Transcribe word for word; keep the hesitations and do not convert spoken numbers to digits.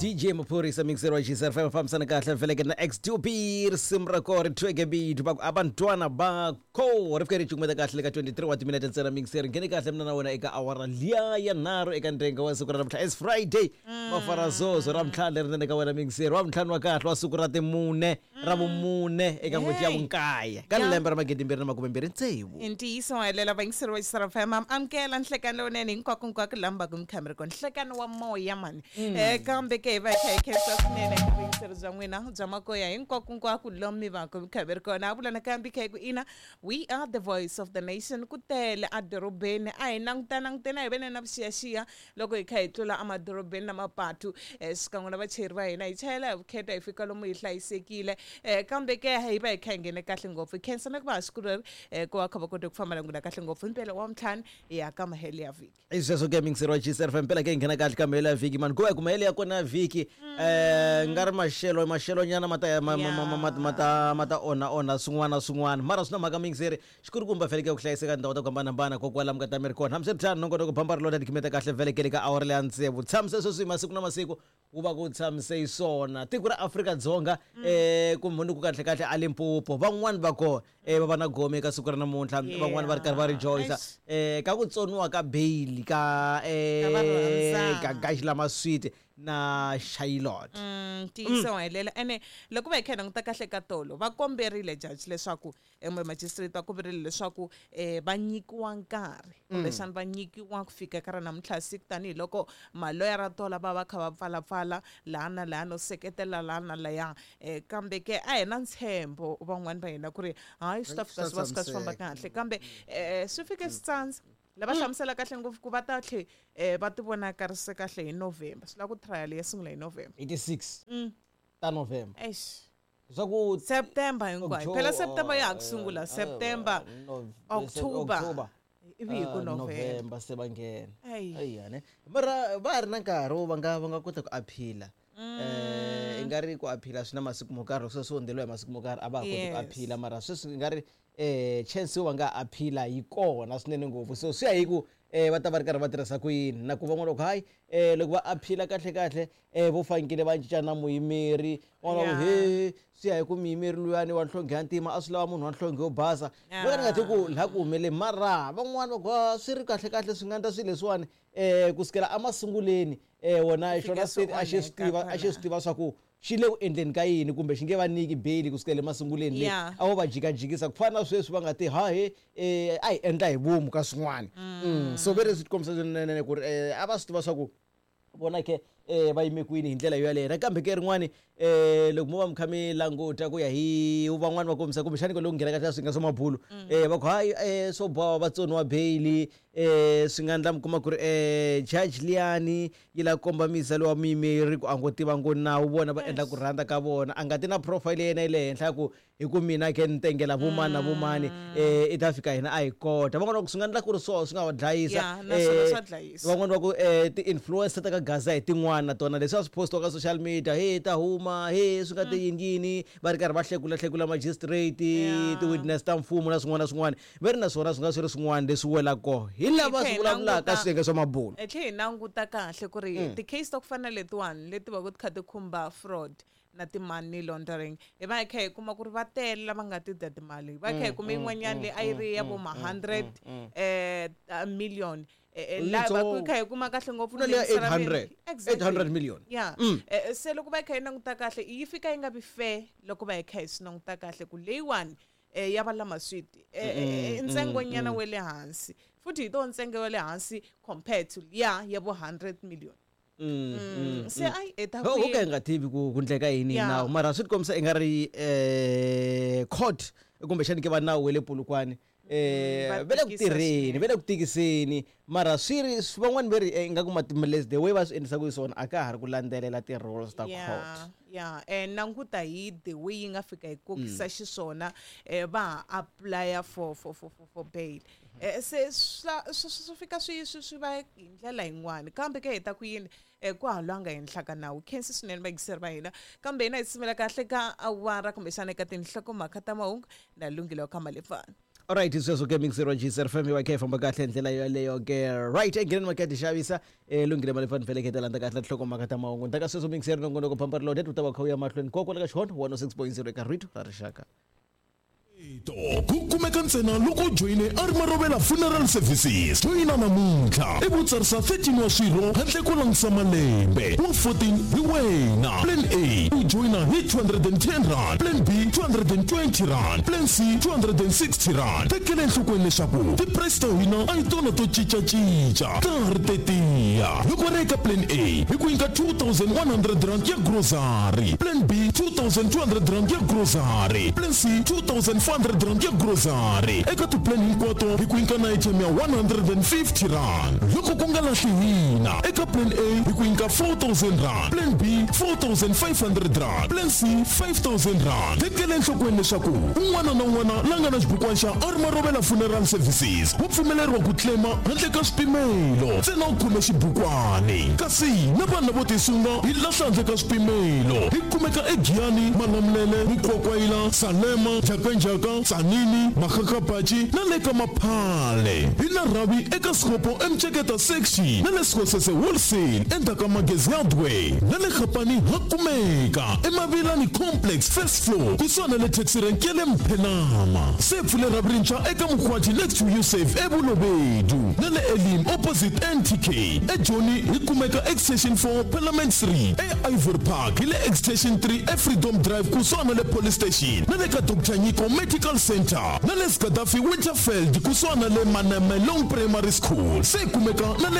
D J Maphorisa mixer wa G S F M fambisana kahle veleke na X two B risimu ra kona ri tweke beat va ku abantwana bakho ri fike ri cukumeta kahle ka twenty-three wa timinete ntsena mixer nghene kahle mina na wena eka awara liya ya nharhu eka ndhenga wa siku ra namuntlha. It's Friday mafarazozo ra ntlhanu leri nene ka wena mixer wa ntlhanu wa kahle wa siku ra timune ra vumune eka n'hweti ya vunkaye ka lembe ra magidi mbirhi na makume mbirhi tsevu. I ntiyiso wa helela vayingiseri va X F M amukela nhlekano lowunene hinkwako hinkwako laha mi va ku mi kha mi ri kona nhlekano wa moya mani um kambe ke hi va hi kha hi khensa swinene eka vuyingiseri bya n'wina bya makoya hinkwako hinkwako lomu mi va ku mi kha mi ri kona. A vula nakambe kha hi ku ina we are the voice of the nation ku tele edorobeni a hi languta languteni a hi vene na vuxiyaxiya loko hi kha hi tlula emadorobeni na mapatu um xikan'we na vachayeri va hina hi chayela hi vukheta hi fika lomu hi hlayisekile um kambe ke hi va hi kha hi nghene kahle ngopfu hi khensa na ku va ha siku leri um ku va kha va kote ku famba na n'wina kahle ngopfu impela wa ntlhanu hi ya ka mahelo ya vhiki. I sweswo ke mixer wa G S F M mpela ke hi nghena kahle ka mahelo ya vhiki mani ku va hi ku mahelo ya kona ya vhiki um nga ri maxelo maxelo nyana ma ta ma ma ma ma ta ma ta onha onha swin'wana na swin'wana mara swi na mhaka mixer xikulukumba veleke ku hlayiseka tindhawu ta ku hambanahambana kokwala mi nga ta mi ri kona hambiswiritano nongonoko bamba ri lona tikhimeta kahle velekele ka awara leya tsevu tshamise sweswi hi masiku na masiku wu va ku tshamise hi swona tiko ra Afrika-Dzonga um kumbe ni ku kahle kahle a Limpopo van'wani va kona um va va na gome eka siku ra namuntlha van'wani va ri karhi va rejoice um ka ku tsoniwa ka bail ka um ka Gaxilama Sweet na Shailot. Ntiyiso wa helela ene loko va hi kha hi languta kahle ka tolo va komberile judge leswaku magistrate va komberile leswaku um va nyikiwa nkarhi kumbexana va nyikiwa ku fika ka ra namuntlha siku tanihiloko maloyara tola va va kha va pfalapfala laha na laha no seketela laha na laya um kambe ke a hi na ntshembo van'wani va hina ku ri hayi swi ta fika swi va swi kha swi famba kahle kambe um swi fike swi tsandza lava hlamusela kahle ngopfu ku va ta tlhe um va ti vonakarise kahle hi November swi lava ku trial ya sungula hi November eighty-six ta November eish swa ku September hinkwayo phela September ya ha ku sungula September October ivi hi ku November se va nghena ayiyane mara va ha ri na nkarhi wo va nga va nga kota ku aphila um i nga ri ku aphila swi na masiku mo karhi sweswi hundzeriwa hi masiku mo karhi a va ha koti ku aphila mara sweswi i nga ri um chance yo va nga aphila yi kona swinene ngopfu so swi ya hi ku um va ta va ri karhi va tirhisa ku yini na ku van'wana loko hayi um loko va aphila kahle kahle um vo fanekele va cinca na muyimeri van'wana va ku he swi ya hi ku muyimeri luyani wa nhlonge ya ntima a swi lava munhu wa nhlonge yo basa va ka ni nga ti ku laha ku humeleni mara van'wana va ku swi ri kahle kahle swi nga endla swilo leswiwani um kusukela emasunguleni um wona xona state a xi swi tiva a xi swi tiva swa ku xi le ku endleni ka yini kumbe xi nge va nyiki bail kusukela emasunguleni leyi a vo va jikajikisa ku fana na sweswi va nga ti hahe um a hi endla hi vomu ka swin'wana so ve ri swi tikombisa swinene ku ri um a va swi tiva swa ku vona ke um va yime kwini hi ndlela yo yaleyo nakambe ke rin'wani um loko mo va mi kha mi languta ku ya hi van'wani va kombisa kumbexani ku loko nghena ka swi nga swa mabulu um va ku hayi um swo boha va tsoniwa bail um swi nga endla mi kuma ku ri um judge liyani yi la komba misa lowa muyimeri ku a ngo tiva ngo nawu vona va endla ku rhandza ka vona a nga ti na profile ya yena yi le henhla ku hi ku mina ke ni tengela vomani na vomani um i ta fika hina a hi kota van'wana va ku swi nga endla ku ri swoho swi nga va dlayisa van'wana va ku um ti-influencer ta ka Gaza hi tin'wana na tona leswi a swi postiwa ka social media he ta huma he swi nga ti yini yini va ri karhi va hlekula hlekula magistrate ti-witness ta mfumo na swin'wana na swin'wana va ri na swona swi nga swi ri swin'wana leswi welaka kona hi lava swi vulavulaka swiyenge swa mabulu. Hi tlhe hi languta kahle ku ri ti-case ta ku fana na letiwani leti va ku ti kha ti khumba fraud na ti-money laundering hi va hi kha hi kuma ku ri va tele lava nga ti dya timali va kha hi kuma yin'wanyana leyi a yi ri ya vo ma hundred um million laha va ku kha hi kuma kahle ngopfu na leya eight hundred million ya se loko va hi kha hi languta kahle yi fika yi nga vi fair loko va hi kha hi swi languta kahle ku leyiwani ya va lama sweet ntsengo nyana wa le hansi futhi hi to ntsengo wa le hansi compared to liya ya vo hundred million. Mm, se ai eta ku ka nga tivi ku ku ndleka yini nawu mara swi tikombisa i nga ri eh court kumbexani ke va nawu we le Polokwane eh va le ku tirheni va le ku tikiseni mara swi ri van'wani va ri i nga ku matimales the way va swi endlisa ku swona a ka ha ri ku landzelela ti-rules ta court. Yeah, and languta hi the way yi nga fika hi kokisa xiswona eh va apply for for for for bail eh se swi fika swi swi va hi ndlela yin'wana kambe ke hi ta ku yini ku halwanga henhla ka nawu khensi swinene vayingiseri va hina kambe hina hi tshimela kahle ka awara kumbexana eka tinhlokomhaka ta mahungu na Lungile wa ka Malefana. Alright, sweswo ke mixer wa G S F M wa khe famba kahle ndlela yoleyo ke. Right, engheneni mhaka ya tixavisa eh lunghile mali fani feleketa landza kahle tinhlokomhaka ta mahungu ndaka sweswo mixer nongonoko phampa loaded u ta va kha u ya mahlweni koko ka xihono one oh six point zero eka rito ra rixaka. To ku kumeka ntsena loko u joyine a ri Marovela Funeral Services. Joyina namuntlha i vutsarisa thirteen wa swirho handle ko langutisa malembe wa fourteen hi wena. Plan A, u joyina hi two hundred and ten rand. Plan B, two hundred and twenty rand. Plan C, two hundred and sixty rand. Tekela enhlokweni leswaku ti-price ta hina a hi tona to cincacinca, ta ha ri tetiya. Loko ri eka plan A, hi ku nyika two thousand one hundred rand ya grocery. Plan B, two thousand two hundred rand ya grocery. Plan C, two thousand four hundred rand ya grocery. Eka tiplan hinkwato hi ku nyika na airtime ya one hundred and fifty rand. Loko ku nga lahli hina, eka plan A hi ku nyika four thousand rand. Plan B, four thousand five hundred rand. Plan C, five thousand rand. Tekela enhlokweni leswaku un'wana na un'wana la nga na xibukwana xa a ri Marovela Funeral Services wa pfumeleriwa ku claima handle ka swipimelo, ntsena u khome xibukwani. Kasi na vanhu lavo tisunga hi lahla handle ka swipimelo. Hi kumeka eGiyani, Malamulele, Mukwakwayila, Salema, Jhakanjhaka, Tsanini, Makgakgabatshi na le ka Maphale. Hi na rhavi eka Sekgopo eMtsheketa section na le Sekgosese wholesale endzhaku ka Magezi Hardware, na le Kgapane ha kumeka eMavilani Complex, first floor, kusuhana na le taxi rank ya le Mphenama. Se pfule rhavi rintshwa eka Mkhwati next to Usave eBolobedu, na le Elim opposite N T K. EJoni hi kumeka Extension four, Parliament Street. E Ivory Park hi le Extension three, eFreedom Drive kusuhana na le police station, na le ka Doctor Nyiko Medical Center, na le Skadafi Winterfeld kusuhana na le Manamelong Primary School. Se kumeka na le